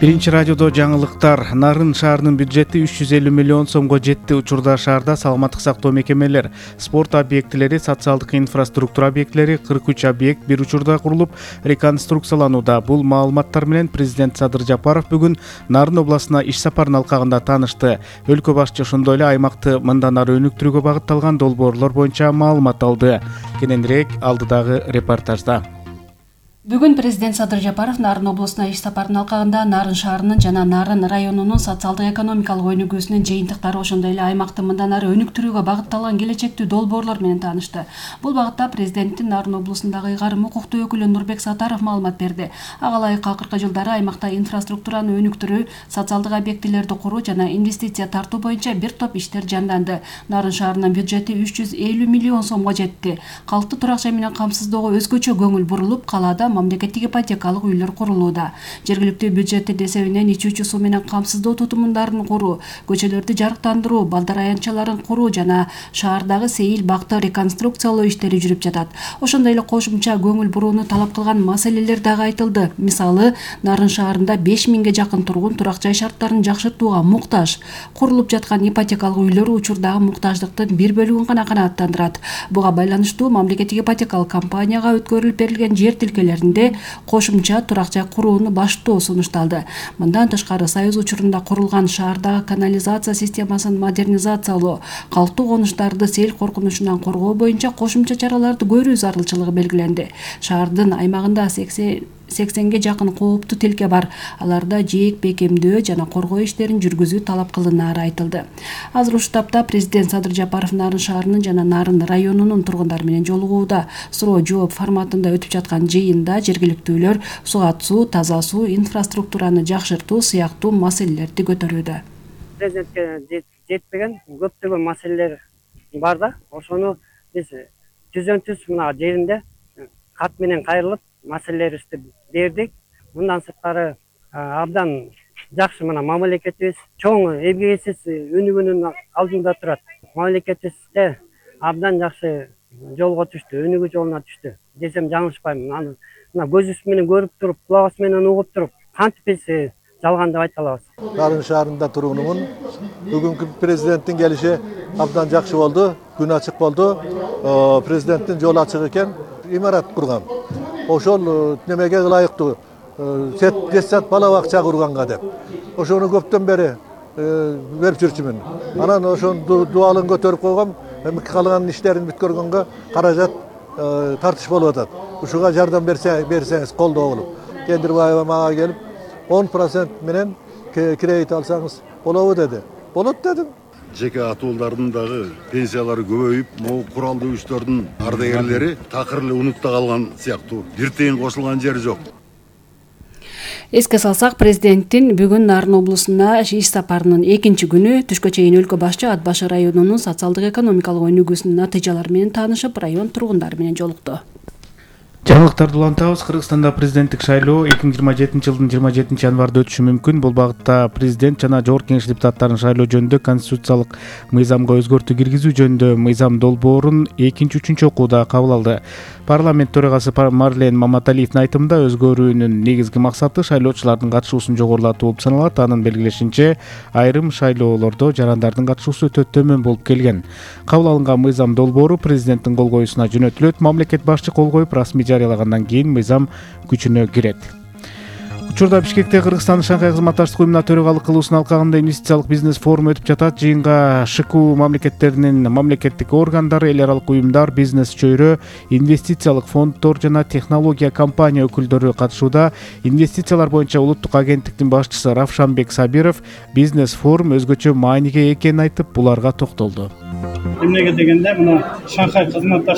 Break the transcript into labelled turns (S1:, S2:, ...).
S1: Биринчи радиодо жаңылыктар. Нарын шаарынын бюджети 350 миллион сомго жетти. Учурда шаарда саламаттык сактоо мекемелер, спорт объектилери, социалдык инфраструктура объектилери 43 объект бир учурда курулуп реконструкцияланууда. Бул маалыматтар менен президент Садыр Жапаров бүгүн Нарын областына иш сапарынын алкагында таанышты. Өлкө башчы ошондой эле аймакты мындан ары өнүктүрүүгө багытталган долбоорлор боюнча маалымат алды. Кененирээк алдыдагы репортажда.
S2: Бүгүн президент Садыр Жапаров Нарын областына иш сапарынын алкагында Нарын шаарынын жана Нарын районунун социалдык экономикалык өнүгүүсүнүн жыйынтыктары, ошондой эле аймакты мындан ары өнүктүрүүгө багытталган келечектүү долбоорлор менен таанышты. Бул багытта президенттин Нарын областындагы ыйгарым укуктуу өкүлү Нурбек Сатаров маалымат берди. Ага ылайык акыркы жылдары аймакта инфраструктураны өнүктүрүү, социалдык объектилерди куруу жана инвестиция тартуу боюнча бир топ иштер жанданды. Нарын шаарынын бюджети 350 миллион сомго жетти. Калкты турак жай менен камсыздоого өзгөчө көңүл бурулуп, калаада мамлекеттик ипотекалык үйлөр курулууда. Жергиликтүү бюджеттин эсебинен ичүүчү суу менен камсыздоо тутумундарын куруу, көчөлөрдү жарыктандыруу, балдар аянтчаларын куруу жана шаардагы сейил бакты реконструкциялоо иштери жүрүп жатат. Ошондой эле кошумча көңүл бурууну талап кылган маселелер дагы айтылды. Мисалы, Нарын шаарында 5000ге жакын тургун турак жай шарттарын жакшыртууга муктаж. Курулуп жаткан ипотекалык үйлөр учурдагы муктаждыктын бир бөлүгүн гана канааттандырат. Буга байланыштуу мамлекеттик ипотекалык компанияга өткөрүлүп берилген жер тилкелеринде кошумча турак жай курууну баштоо сунушталды. Мындан тышкары Союз учурунда курулган шаардагы канализация системасын модернизациялоо, калктуу конуштарды сел коркунучунан коргоо боюнча кошумча чараларды көрүү зарылчылыгы белгиленди. Шаардын аймагында 80ге жакын кооптуу тилке бар. Аларда жээк бекемдөө жана коргоо иштерин жүргүзүү талап кылынаары айтылды. Азыр ушул тапта президент Садыр Жапаров Нарын шаарынын жана Нарын районунун тургундары менен жолугууда. Суроо жооп форматында өтүп жаткан жыйында жергиликтүүлөр сугат суу, таза суу, инфраструктураны жакшыртуу сыяктуу маселелерди көтөрүүдө.
S3: Президентке жетпеген көптөгөн маселелер бар да, ошону биз түзөн-түз мына жеринде кат менен кайрылып маселелерибизди бердик. Мындан сырткары абдан жакшы мына мамлекетибиз чоң эмгегисиз өнүгүүнүн алдында турат. Мамлекетибизде абдан жакшы жолго түштү, өнүгүү жолуна түштү десем жаңылышпайм. Мына көзүбүз менен көрүп туруп, кулагыбыз менен угуп туруп, кантип биз жалган деп айта алабыз.
S4: Нарын шаарында тургунумун. Бүгүнкү президенттин келиши абдан жакшы болду, күн ачык болду. Президенттин жолу ачык экен, имарат курган. Ошол немеге ылайыктуу детсад бала бакча курганга деп. Ошону көптөн бери берип жүрчүмүн. Анан ошону дуалын көтөрүп койгом, эми калган иштерин бүткөргөнгө каражат тартыш болуп атат. Ушуга жардам берсеңиз колдоо болуп. Кендирбаева мага келип 10% менен кредит алсаңыз болобу деди. Болот дедим.
S5: Жеке атуулдардын дагы пенсиялары көбөйүп, могу куралдуу күчтөрдүн ардагерлери такыр эле унутта калган сыяктуу. Бир тыйын кошулган жери жок.
S2: Эске салсак, президенттин бүгүн Нарын областына иш сапарынын экинчи күнү түшкө чейин өлкө башчы Ат башы районунун социалдык экономикалык өнүгүүсүнүн натыйжалары менен таанышып, район тургундары менен жолукту.
S1: Жаңылыктарды улантабыз. Кыргызстанда президенттик шайлоо 2027 жылдын 27 январда өтүшү мүмкүн. Бул багытта президент жана жогорку кеңеш депутаттарын шайлоо жөнүндө конституциялык мыйзамга өзгөртүү киргизүү жөнүндө мыйзам долбоорун экинчи, үчүнчү окууда кабыл алды. Парламент төрагасы Марлен Маматалиевдин айтымында өзгөрүүнүн негизги максаты шайлоочулардын катышуусун жогорулатуу болуп саналат. Анын белгилешинче, айрым шайлоолордо жарандардын катышуусу өтө төмөн болуп келген. Кабыл алынган мыйзам долбоору президенттин кол коюусуна жөнөтүлөт. Мамлекет башчы кол коюп, расмий жарыялагандан кийин мыйзам күчүнө кирет. Учурда Бишкекте Кыргызстандын Шанхай кызматташтык уюмуна төрагалык кылуусунун алкагында инвестициялык бизнес форуму өтүп жатат. Жыйынга ШКУ мамлекеттеринин мамлекеттик органдары, эл аралык уюмдар, бизнес чөйрө, инвестициялык фонддор жана технология компания өкүлдөрү катышууда. Инвестициялар боюнча улуттук агенттиктин башчысы Равшанбек Сабиров бизнес форум өзгөчө мааниге экенин айтып, буларга токтолду.
S6: Эмнеге дегенде, мына Шанхай кызматташтык